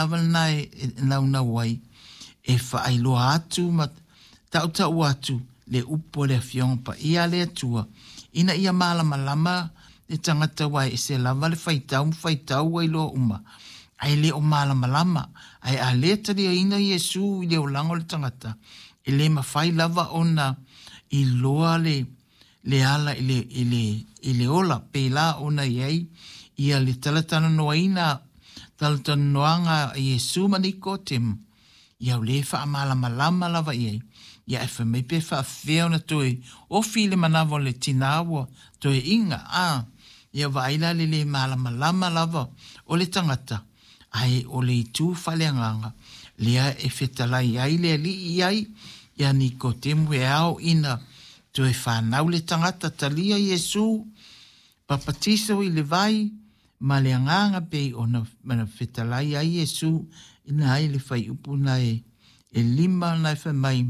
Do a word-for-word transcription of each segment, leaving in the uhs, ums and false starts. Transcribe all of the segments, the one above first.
lava lena e e naunau ai e faailoa atu ma tautau atu le upu a le Afioga Paia a le Atua ina ia malamalama le tagata aua e ese lava le faitau ma faitau ua iloa uma ae le o malamalama ae a le taliaina Iesu i le olaga o le tagata e le mafai lava ona iloa le le ala i le i le i le ola pēlā ona i ai ia le talatalanoaina talatalanoaga a Iesu ma Nikotemu ia o lē faamalamalama lava i ai ia ae fai mai pe faafefea ona toe ofi i le manava o le tinā ua toe iga a ia vaai la le lē malamalama lava o le tagata ae o le itu faaleagaga lea e fetalai ai le Alii i ai ia Nikotemu e ao ina toe fanau le tagata talia Iesu papatiso i le vai ma le agaga pei ona ona fetalai ai Iesu ina ai le fuaiupu na e e lima na e fai mai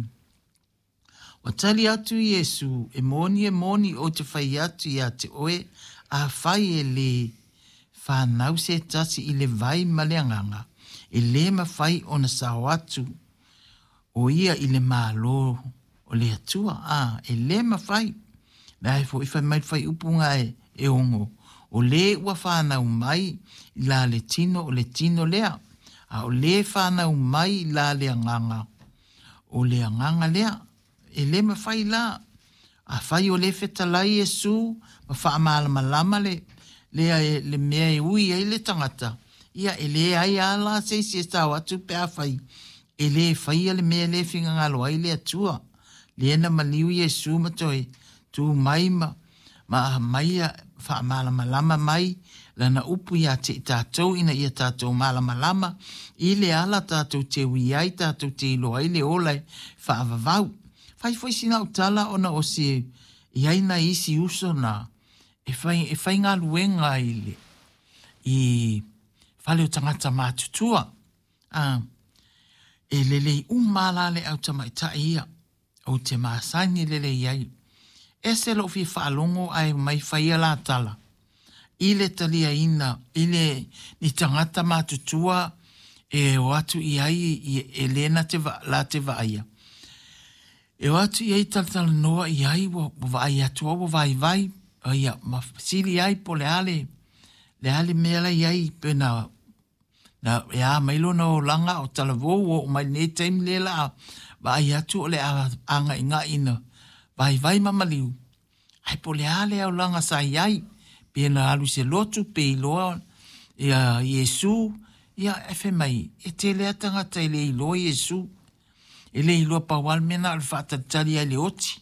ua tali atu Iesu e moni e moni ou te fai atu ia te oe afai e lē fanau se tasi i le vai ma le agaga e lē mafai ona sao atu o ia i le Malo o le Atua a e lē mafai la e foʻi fai mai le fuaiupu ga e e ono o lē ua fanau mai i la le tino o le tino lea a o lē fanau mai i la le agaga o le agaga lea e lē mafai la afai o lē fetalai Iesu ma faamalamalama le lea e le mea e ui ai le tagata ia e leai lava la se isi e sao atu pe afai e lē faia le mea lea e finagalo ai le Atua lea na maliu Iesu ma toe tu mai ma ma aumaia faamalamalama mai lana upu iā te i tatou ina ia tatou malamalama i le ala tatou te ui ai tatou te iloa ai le ola e faavavau. Fai foi sina au tala ona o se i ai nai isi uso na e fai e faigaluega i le i fale o tagata matutua. A e lelei uma la le au tamaitai ia ou te masani lelei ai. Ese lou fia faalogo ae omai faia la tala i le taliaina i le ni tagata matutua e o atu i ai e lē na te la te vaaia e o atu i ai talatalanoa i ai ua vaai atu au ua vaivai ia ma fesili ai po o le a le le a le mea la i ai pe na na e a mai lona olaga o talavou ua oo mai lenei taimi lea la a vaai atu o le a aga'iga'i ina vaivai ma maliu ae po o le a le aulaga sa i ai pe na alu i se lotu pe iloa ia Iesu ia e fai mai e tele a tagata e le iloa Iesu e le iloa pau lava le mea na o le faatalitali ai i le oti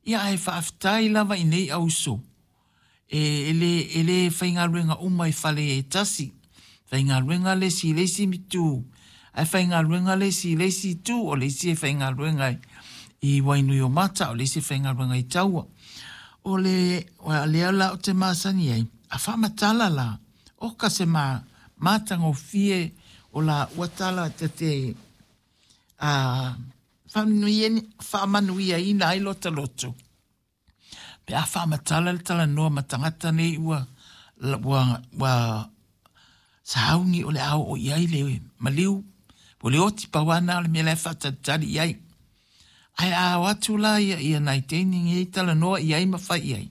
ia ae faafetai lava i nei auso e, e le e le faigaluega uma i fale e tasi faigaluega le isi i le isi itu ae faigaluega le isi i le isi itu o le isi e faigaluega i Wainuiomata o le isi e faigaluega i Taua o le lea la ou te masani ai a faamatala la oka se ma matagofie o la ua tala ta te a faamanuiaina ai lota loto pe a faamatala le talanoa ma tagata nei ua ua ua sauni o le a oo i ai le maliu po o le oti pau lava lena o le mea la e faatalitali i ai ae a o atu la ia ia nai teine nei talanoa i ai ma fai i ai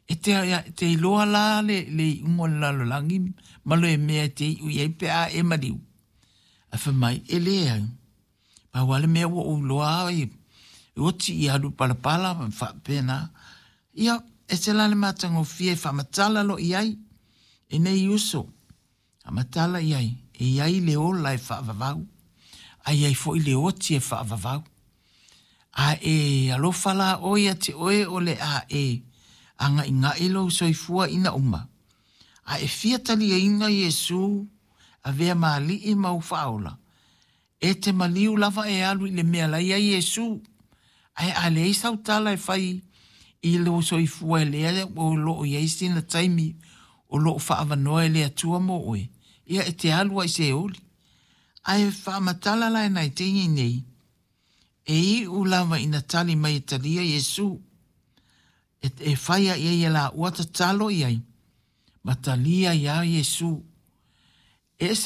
e te te iloa la le le iuga o le lalolagi ma le mea e te iu i ai pe a e maliu ae fai mai e leai pau lava le mea ua ou iloa e oti i alu palapala ma faapena ia ese la le matagofie e faamatala loa i ai e nei uso faamatala i ai e i ai le ola e faavavau ae i ai foi le oti e faavavau a e alofa la oe ia te oe o le a e aga'iga'i lou soifua ina uma a e fia taliaina Iesu avea ma Alii ma ou faaola e te maliu lava e alu i le mea la e i ai Iesu ae a leai sau tala e fai i lou soifua e lea o loo i ai sina taimi o loo faaavanoa e le Atua mo oe ia e te alu ai se oli ae faamatala la e nai teine nei e iu lava ina tali mai e talia Iesu e, e fai ai ai e laua tatalo i ai ma talia iā Iesu e ese